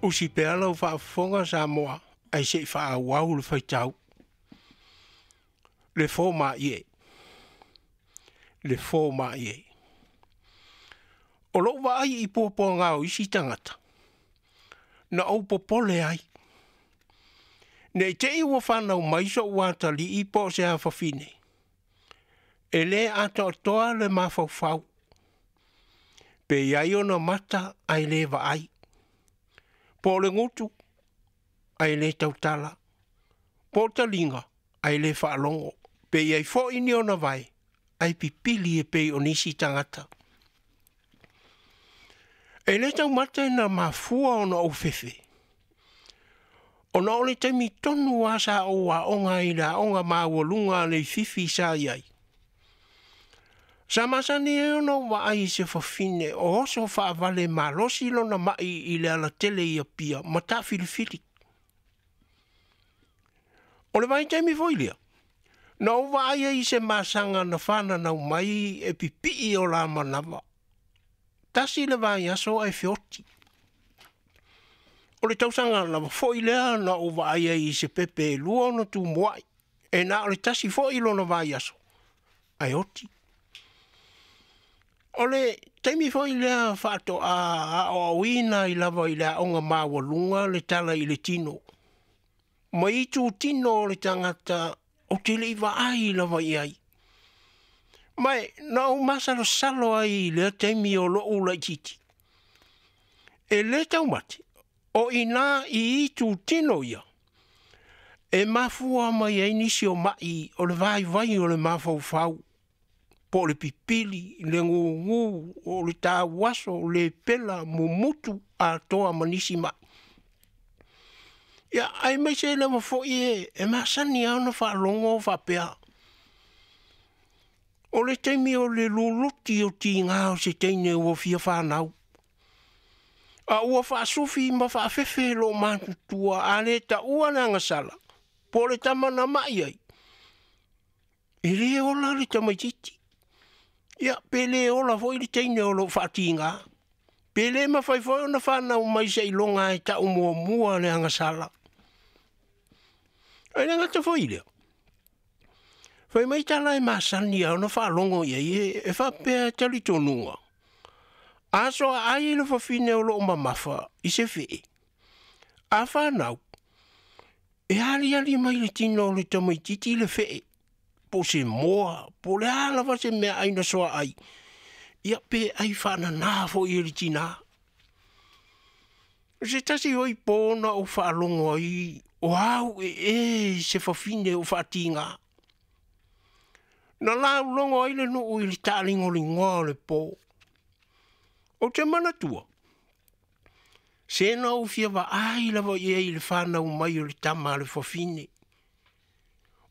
Usi pea lau faafofoga Samoa ae se i faaauau le faitau. Le fomaie. Le fomaie. O lou vaai i puapuaga o isi tagata, na ou popole ai, ne i te i ua fanau mai so'u atalii po o se afafine, e le atoatoa le mafaufau, pe i ai ona mata ae le vaai, po o le gutu ae le tautala, po o taliga ae le faalogo, pe i ai foi ni ona vae ae pipili e pei o nisi tagata. E le taumate na mafua ona ou fefe, ona o le taimi tonu lava sa ou aoga ai i le aoga maualuga a Leififi sa i ai, sa masani ai ona ou vaai i se fafine o oso faavale malosi lona mai i le alatele i Apia ma taafilifili. O le vaitaimi foi lea, na ou vaai ai i se masaga na fananau mai e pipii o la manava, tasi le vaiaso ae feoti. O le tausaga lava foi lea na ou vaai ai i se pepe e 2 ona tumuai, e na o le tasi foi lona vaiaso ae oti. O le taimi foi lea faatoa aoaoina ai lava i le aoga maualuga le tala i le tino, ma itu tino o le tagata ou te le i vaai lava i ai. Ma e na ou masalosalo ai i lea taimi o lo'u laitiiti, e le taumate o i ina i itu tino ia e mafua mai ai nisi o mai o le vaivai o le mafaufau, po o le pipili, le gugu, o le tauaso, le pela, mumutu atoa ma nisi mai. Ia, aemaise lava foi e masani lava ona faalogo o faapea, o le taimi o le luluti o tiga o se teine ua fia fanau, a ua faasufi ma faafefe loomatutua, a le taua le agasala po o le tama na mai ai, e le ola le tamaitiiti. Ia, pe le ola foi le teine o lo o faatiga. Pe le mafai foi ona fanau mai seiloga e tau muamua le agasala. Ae le gata foi i lea, fai mai tala e masani lava ona faalogo i ai e faapea e talitonuga, a soaai le fafine o lo o mamafa i se fee, a fanau, e aliali mai le tino o le tamaitiiti le fee, po o se moa, po o le a lava se meaai na soaai, ia pe ai faanana foi e le tinā. O se tasi foi po na ou faalogo ai o au ee se fafine o faatiga. Na laulogo ai le nuu i le taaligoligoa o le po. Ou te manatua, se na ou fia vaai lava i ai i le fanau mai o le tama a le fafine,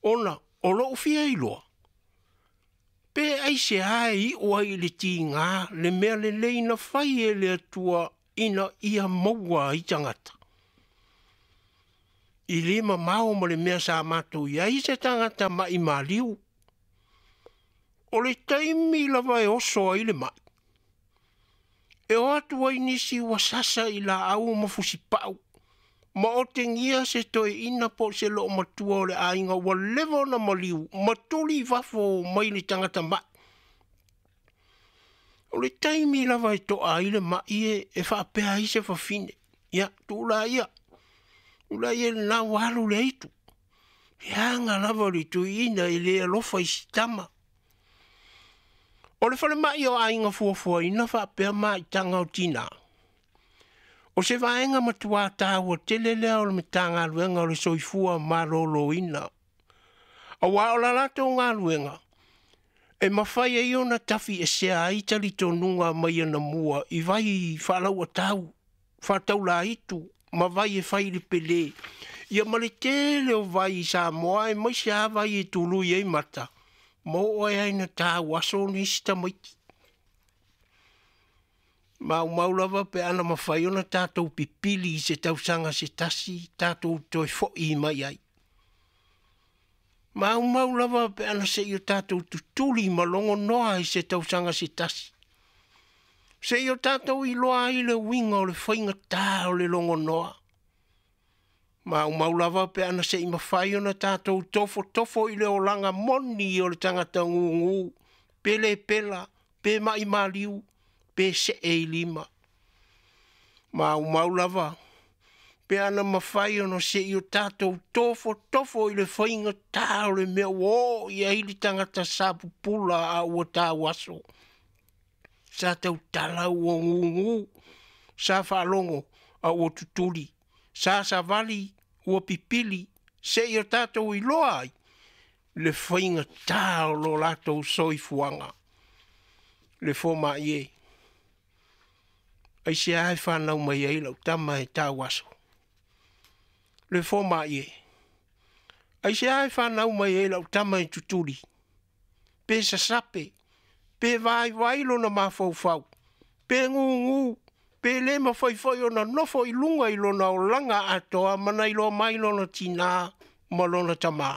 ona o lou fia iloa, pe aisea e iu ai i le tiga le mea lelei na fai e le Atua ina ia maua ai tagata. I le mamao ma le mea sa matou i ai se tagata ma'i maliu. O le taimi lava e oso ai le ma'i, e o atu ai nisi ua sasa i laau ma fusipau, ma otegia se toeaina po o se loomatua o le aiga ua leva ona maliu ma tuli i fafo mai le tagata ma'i. O le taimi lava e to'a ai le ma'i e faapea ai se fafine, ia, tuu laia, tuu laia lena ua alu le aitu. E aga lava le toeaina e le alofa i si tama. O le falemai o aiga fuafuaina faapea maitaga o tinā, o se vaega matuā taua tele lea o le Matagaluega o le Soifua Maloloina, auā o la latou galuega e mafai ai ona tafiesea ai talitonuga mai anamua i vai faalauatau, faataulaitu ma vai e fai i le pele, ia ma le tele o vai i Samoa aemaise lava vai e tului ai mata, ma oo ai ina tauaso nisi tamaiti. Maumau lava pe ana mafai ona tatou pipili i se tausaga se tasi tatou toe foi mai ai. Maumau lava pe ana se i o tatou tutuli ma logonoa i se tausaga se tasi. Seia o tatou iloa ai le uiga o le faigata o le logonoa. Maumau lava pe ana se i mafai ona tatou tofotofo i le olaga moni o le tagata gugu, pe le pela, pe mai maliu, pe see i lima. Maumau lava pe ana mafai ona se i o tatou tofotofo i le faigata o le mea ua oo i ai le tagata sa pupula a ua tauaso. Sa tautala ua gugu, sa faalogo a ua tutuli, sa savali ua pipili, seia o tatou iloa ai le faigata o lo latou soifuaga. Le fomai e, aisea e fanau mai ai lau tama e tauaso? Le fomai e, aisea e fanau mai ai lau tama e tutuli, pe sasape, pe vaivai lona mafaufau, pe gugu, pe le mafai foi ona nofo i luga i lona olaga atoa ma na iloa mai lona tinā ma lona tamā?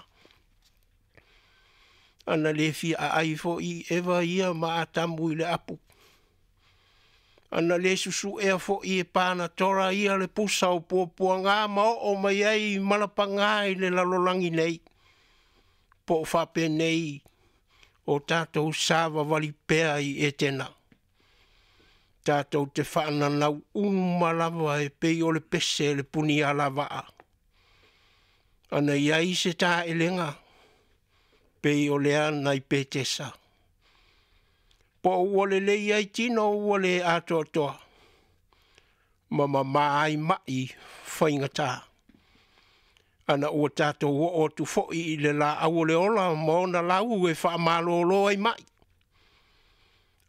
Ana le fia aai foi Eva ia ma Atamu i le apu. Ana le susuea foi e Panatora ia le pusa o puapuaga ma oo mai ai malapagā i le lalolagi nei. Po o faapenei o tatou savavali pea i Etena. Tatou te faananau uma lava e pei o le pese le punialavaa. Ana i ai se taelega pei o lea nai Petesa. Po o ua lelei ai tino ua le atoatoa, ma mamā ai mai faigata. Ana ua tatou oo atu foi i le laau o le ola ma ona lau e faamalolo ai mai.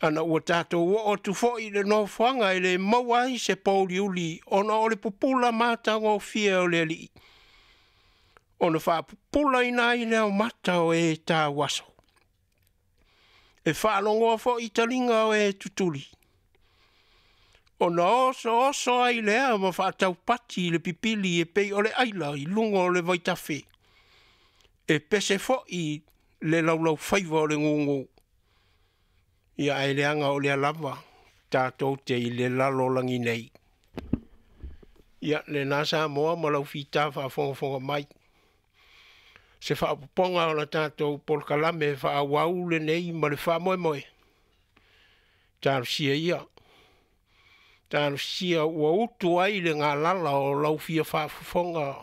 Ana ua tatou oo atu foi i le nofoaga e le maua ai se pouliuli ona o le pupula matagofie o le Alii, ona faapupulaina ai lea o mata o e tauaso. E faalogoa foi taliga o e tutuli, ona osooso ai lea ma faataupati le pipili e pei o le aila i luga o le vaitafe, e pese foi le laulaufaiva o le gugu. Ia ae leaga o lea lava tatou te i le lalolagi nei. Ia lena Samoa ma lau fita faafogafoga mai. Se faaopoopoga o la tatou polokalame faaauau lenei ma le faamoemoe. Talosia ia. Talosia ua utu ai le galala o lau fia faafofoga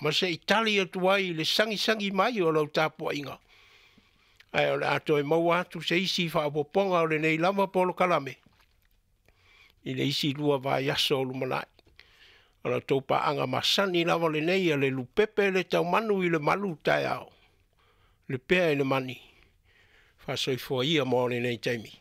ma se i tali atu ai le sagisagi mai o lau tapuaiga. Ae o le a toe maua atu se isi faaopoopoga o lenei lava polokalame i le isi 2 vaiaso o lumanai. O la outou paaga masani lava lenei a le lupepe le taumanu i le malu taeao, le pea i le mani, faasoifua ia mo lenei taimi.